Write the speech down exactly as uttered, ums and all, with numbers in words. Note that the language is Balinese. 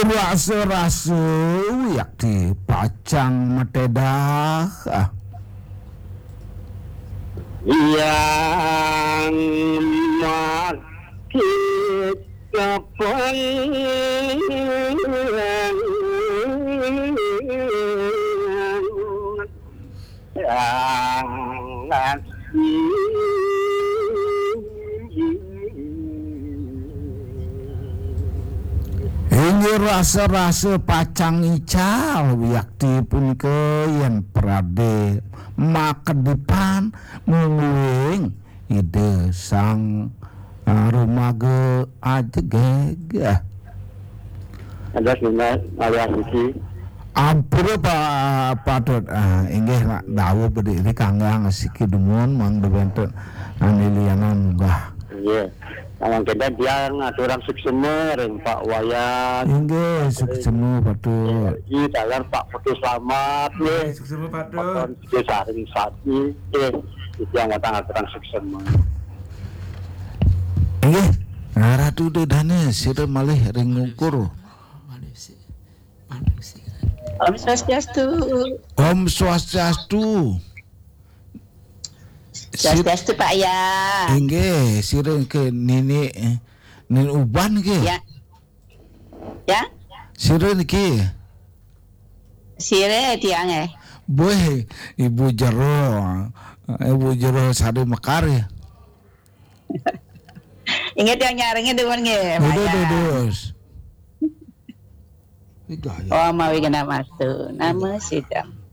Rasa-rasa wiakti pacang matedah. Ah. Yang makit kapan Inggih rasa-rasa pacang ical wiakti punika yen prade makedipan mungguing Ida Sang, ah, Rumaga Ajegeg. Ada sini, Maria Suci. Ampura pa-, patut, ah, inggih nak dawuh bedik di kanggang siki dumun mang dewenten, ah, nilianan munggah. Iya. Mangkin tiang aturang suksema ring Pak Wayan. Inggih, suksema patut. Iya, taler Pak Putu Slamet, nggih. Suksema patut. Pak Putu Saring Sati, nggih. Tiang watang aturang suksema. Inggih, Ratu Dedane sira malih ring ngungkur. Om Swastiastu. Om Swastiastu. Swastiastu, Pak, ya. Inggih, sira ke nini, eh, nin uban ke? Ya. Ya. Sira niki. Sira tiang, eh. Boy, Ibu Jero. Ibu Jero Sari Mekar ya. Inggih tiang nyarengin dumun nggih, Pak, ya. Dudus. Oh, mawi genah mastu. Nama sidang.